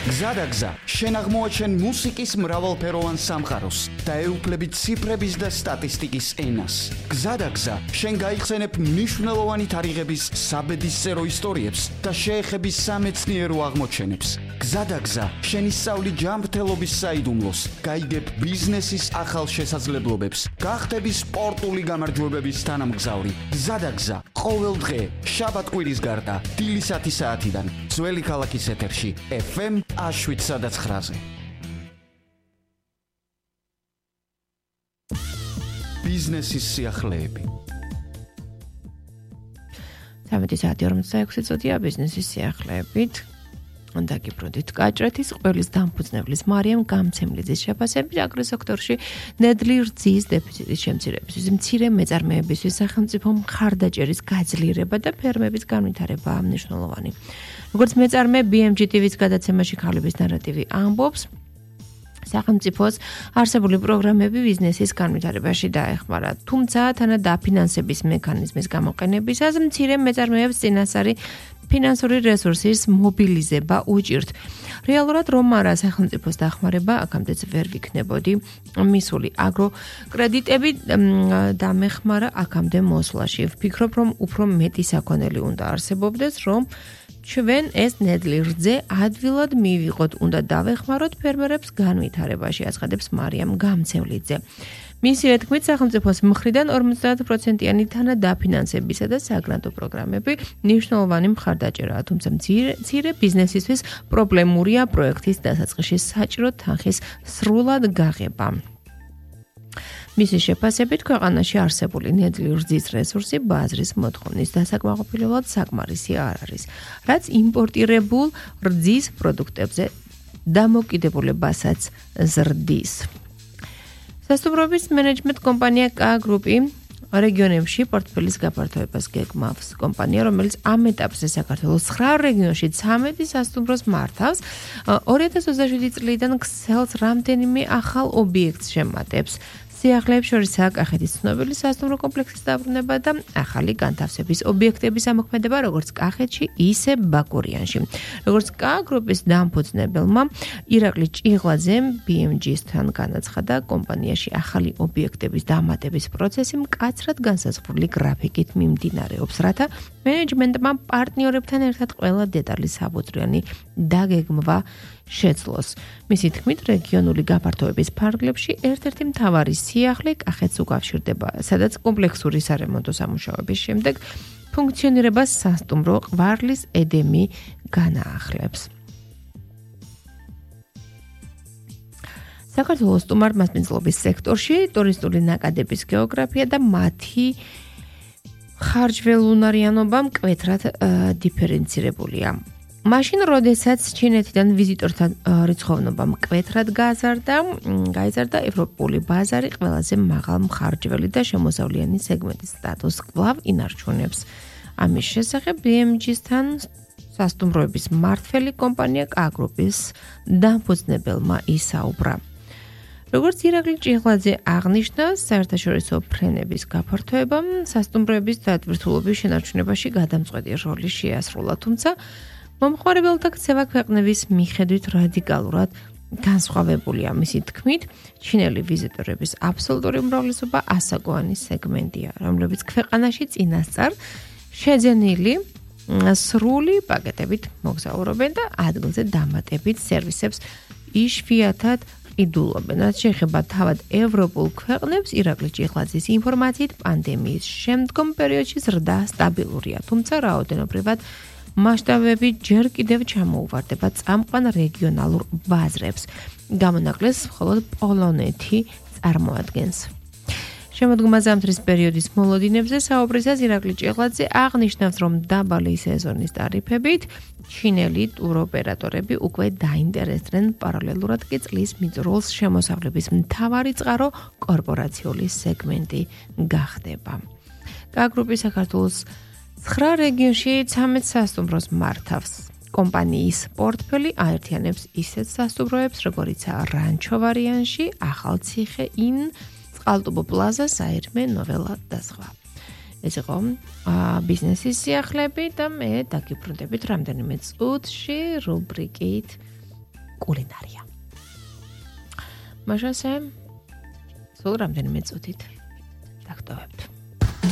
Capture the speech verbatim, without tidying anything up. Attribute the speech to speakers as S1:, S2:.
S1: გზადაგზა, შენ აღმოაჩენ მუსიკის მრავალფეროვან სამყაროს და ეუფლები ციფრების და სტატისტიკის ენას. გზადაგზა, შენ გაიხსენებ მნიშვნელოვანი თარიღების საბედისწერო ისტორიებს და შეეხები სამეცნიერო აღმოჩენებს. გზადაგზა, შენ ისწავლი ჯანმრთელობის საიდუმლოს, გაიგებ ბიზნესის ახალ შესაძლებლობებს, გახდები სპორტული გამარჯვებების თანამგზავრი. გზადაგზა, ყოველ დღე, შაბათ-კვირის გარდა, დილისათი საათიდან, ძველი ქალაქის ეთერში, ეფ ემ შვიდსა და ცხრაზე. ბიზნესის სიახლეები.
S2: სამი საათი ორმოცდაექვსი წუთია ბიზნესის სიახლეებით. დაგიბრუნდით გაჭრეთის ყველის დამფუძნებლის მარიამ გამცემლიძის შეფასებით აგროს სექტორში ნედლი რძის დეფიციტის შემცირებისთვის, მცირე მეწარმეებისთვის სახელმწიფო მხარდაჭერის გაძლიერება და ფერმების განვითარებაა მნიშვნელოვანი. როგორც მეწარმე ბი ემ ჯი ტი-ვის გადაცემაში ქალების ნარატივი ამბობს, სახელმწიფოს არსებული პროგრამები ბიზნესის განვითარებაში დაეხმარა, თუმცა თანა დაფინანსების მექანიზმის გამოყენებისას მცირე მეწარმეებს წინასწარი ფინანსური რესურსის მობილიზება უჭირთ. რეალურად რომ არა სახელმწიფოს დახმარება აქამდეც ვერ ვიქნებოდი მისული. აგრო კრედიტები დამეხმარა აქამდე მოსვლაში. ვფიქრობ, რომ უფრო მეტი საქონელი უნდა არსებობდეს, რომ ჩვენ ეს ნედლი რძე ადვილად მივიღოთ, უნდა დავეხმაროთ ფერმერებს განვითარებაში, აცხადებს მარიამ გამცემლიძე. მისივე თქმით, სახელმწიფოს მხრიდან ორმოცდაათ პროცენტიანი თანადაფინანსებისა და საგრანტო პროგრამები მნიშვნელოვანი მხარდაჭერაა, თუმცა მცირე ბიზნესისთვის პრობლემურია პროექტის დასაწყისში საჭირო თანხის სრულად გაღება. მისი შეფასებით, ქვეყანაში არსებული ნედლი რძის რესურსი ბაზრის მოთხოვნის დასაკმაყოფილებლად საკმარისი არ არის, რაც იმპორტირებულ რძის პროდუქტებზე დამოკიდებულებასაც ზრდის. სასტუმროების მენეჯმენტ კომპანია კა გრუპი რეგიონებში პორტფელის გაფართოებას გეგმავს. კომპანია, რომელიც ამ ეტაპზე საქართველოს ცხრა რეგიონში ცამეტი სასტუმროს მართავს, ორი ათას ოცდაშვიდი წლიდან ქსელს რამდენიმე ახალ ობიექტს შემატებს. სიახლეებს შორისაა კახეთის ცნობილი სასტუმრო კომპლექსის დაბრუნება და ახალი განთავსების ობიექტების ამოქმედება როგორც კახეთში, ისე ბაკურიანში. როგორც კა გრუპის დამფუძნებელმა ირაკლი ჭიღლაძემ ბი ემ ჯი-სთან განაცხადა, კომპანიაში ახალი ობიექტების დამატების პროცესი მკაცრად განსაზღვრული გრაფიკით მიმდინარეობს, რათა მენეჯმენტმა პარტნიორებთან ერთად ყველა დეტალი საბუთრიანი დაგეგმვა შეძლოს. მისი თქმით, რეგიონული გაფართოების ფარგლებში ერთ-ერთი მთავარი სიახლე კახეთს უკავშირდება, სადაც კომპლექსური სარემონტო სამუშაოების შემდეგ ფუნქციონირებას სასტუმრო ყვარლის ედემი განაახლებს. საქართველოს სტუმარ-მასპინძლობის სექტორში ტურისტული ნაკადების გეოგრაფია და მათი ხარჯველუნარიანობა მკვეთრად დიფერენცირებულია. მაშინ, როდესაც ჩინეთიდან ვიზიტორთა რიცხოვნობა მკვეთრად გააზარდა, გაიზარდა ევროპული ბაზარი ყველაზე მაღალ მხარჯველი და შემოსავლიანი სეგმენტის სტატუსს კვლავ ინარჩუნებს. ამის შესახებ ბი ემ ჯი-სთან სასტუმროების მმართველი კომპანია კა გრუპის დამფუძნებელმა ისაუბრა. როგორც ირაკლი ჭიღლაძე აღნიშნა, საერთაშორისო ფრენების გაფართოებამ სასტუმროების დატვირთულობის შენარჩუნებაში გადამწყვეტი როლი შეასრულა, თუმცა მომხმარებელთა ქცევა ქვეყნების მიხედვით რადიკალურად განსხვავებულია. მისი თქმით, ჩინელი ვიზიტორების აბსოლუტური უმრავლესობა ასაკოვანი სეგმენტია, რომლებიც ქვეყანაში წინასწარ შეძენილი სრული პაკეტებით მოგზაურობენ და ადგილზე დამატებით სერვისებს იშვიათად ყიდულობენ. რაც შეეხება თავად ევროპულ ქვეყნებს, ირაკლი ჭიღლაძის ინფორმაციით, პანდემიის შემდგომ პერიოდში ზრდა სტაბილურია, თუმცა რაოდენობრივად მასშტაბები ჯერ კიდევ ჩამოუვარდება წამყვან რეგიონალურ ბაზრებს. გამონაკლეს მხოლოდ პოლონეთი წარმოადგენს. შემოდგომა ზამთრის პერიოდის მოლოდინებზე საუბრისას ირაკლი ჭიღლაძე აღნიშნავს, რომ დაბალი სეზონის ტარიფებით ჩინელი ტუროპერატორები უკვე დაინტერესდნენ, პარალელურად კი წლის მიწურულს შემოსავლების მთავარი წყარო კორპორაციული სეგმენტი გახდება. კა გრუპი საქართველოს ცხრა რეგიონში ცამეტ სასტუმროს მართავს. კომპანიის პორტფელი აერთიანებს ისეთ სასტუმროებს, როგორიცაა რანჩო ვარიანში, ახალციხე, ინ, წყალტუბო პლაზა, საირმე, ნოველა და სხვა. ეს იყო ბიზნესის სიახლეები და მე დაგიბრუნდებით რამდენიმე წუთში რუბრიკით კულინარია. მაშასე სულ რამდენიმე წუთით დაგტოვებთ.